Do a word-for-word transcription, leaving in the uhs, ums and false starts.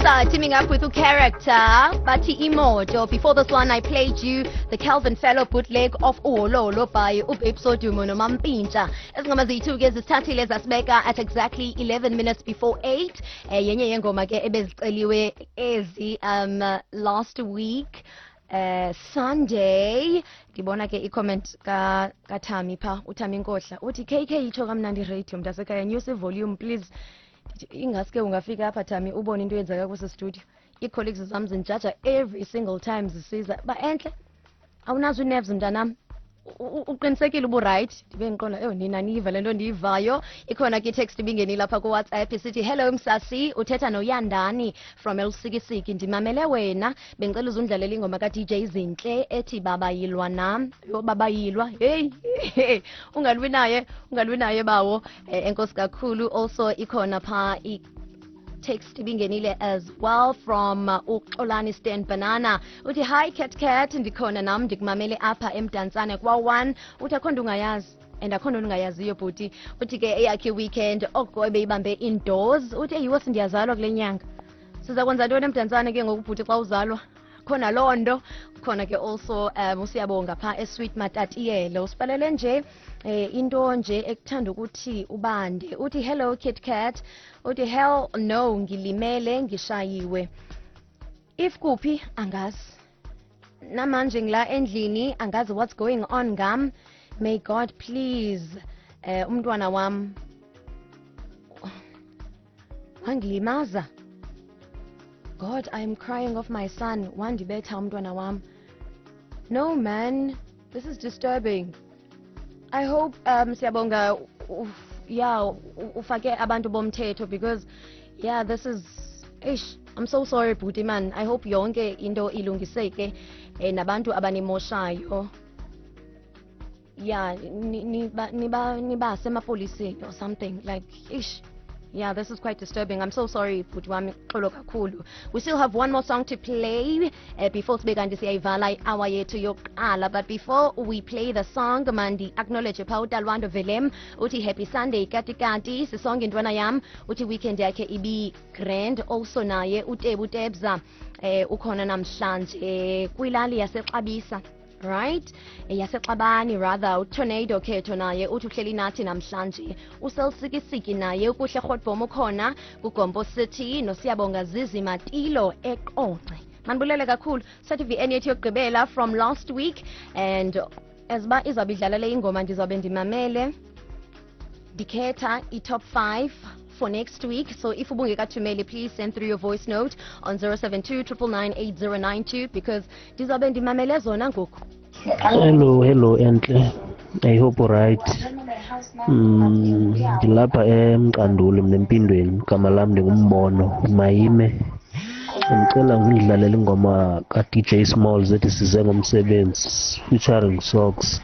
Nomsa teaming up with Character, Bathi Imoto. Before this one, I played you the Calvin Fellow bootleg of Uololo by uBabes Wodumo noMampintsha. Ezingoma ziyi-two ke zisithathile zasibeka at exactly eleven minutes before eight. Eh, yenye yengoma ke ebeziceliwe ezi um last week. Uh, Sunday ndibona ke i-comment ka kaThami pha, uThami Nkohla uthi, "K K, itsho kamnandi radio, mntasekhaya, nyusa i-volume please." Ndithi, ingaske ungafika apha, Thami, ubone into eyenzeka kwesi studio. Ii-colleagues zam zindijaja every single time zisiza ba, "Entle, awunazo ii-nerves, mntanam, U- u- uqinisekile ubu-right?" Ndibe ndiqonda, eyo nina niyiva le nto ndiyivayo. Ikhona ke i-text ibingenile apha kuWhatsApp, isithi, "Hello Msasi, uthetha noYandani from Elusikisiki. Ndimamele wena, bendicela uzundlalela ingoma ka-D J Zinhle ethi Baba Yilwa Nam." Yho, Baba Yilwa, heyi, ungalwi naye, ungalwi naye bawo. eh, enkosi kakhulu. Also ikhona phaa i text ibingenile as well from uh, uXolani Stan Banana, uthi, "Hi Cat Cat, ndikhona nam, ndikumamele apha eMdantsane kwa-one." Uthi akho nto ungayazi and akho nto ungayaziyo, bhuti. Uthi ke eyakhe weekend oko ebeyibambe indoors. Uthi eyiwo, sindiyazalwa kule nyanga, siza kwenza ntoni eMdantsane ke ngoku, bhuti, xa uzalwa khona loo nto khona ke? Also um usiyabonga phaa eSweet Matatiyele usibhalele nje eh into nje ekuthanda ukuthi ubande. Uthi, "Hello Kit Kat." Uthi, "Hell no, ngilimele, ngishayiwe. If kuphi angazi, namanje ngila endlini, angazi what's going on ngam. May God please, eh umntwana wam wangilimaza. God, I am crying of my son, wandibetha umntwana wam. No man, this is disturbing. I hope um siyabonga, yeah, ufake abantu bomthetho because, yeah, this is, eish, I'm so sorry, bhuti man. I hope yonke into ilungiseke, eh, nabantu abanimoshayo, yeah, niba niba nibase emapoliseni or something like. Ish, yeah, this is quite disturbing. I'm so sorry, bhuti wami, xolo kakhulu. We still have one more song to play uh, before sibe kanti siyayivala i-hour yethu yokuqala. But before we play the song, mandi acknowledge pha uTalwando Velem, uthi, "Happy Sunday, kati kati, sisonke intwana yam." Uthi weekend yakhe ibi grand. Also naye uTebu Tebza eh ukhona namhlanje kwilali yaseXabisa, right, yaseXabani rather. UTornado Khetho naye uthi uhleli nathi namhlanje. Uselsikisiki naye, uKuhle Rhotbom ukhona kuGompo City, noSiyabonga Zizi Matilo eQonce. Manibulele kakhulu. Sathi V N yethu yokugqibela from last week, and as uba izawube idlala le ingoma, ndizawube ndimamele, ndikhetha i-top five for next week. So if ubungekathumeli, please send through your voice note on zero seven two nine nine nine eight zero nine two because ndizawube ndimamele zona ngoku. Hello, hello Entle. I hope right. Mm, ndilapha eMqanduli mna empindweni, igama lam ndinguMbono Mayime. Ndicela ngidlalele ingoma ka-D J Smalls ethi Size Ngomsebenzi featuring Socks.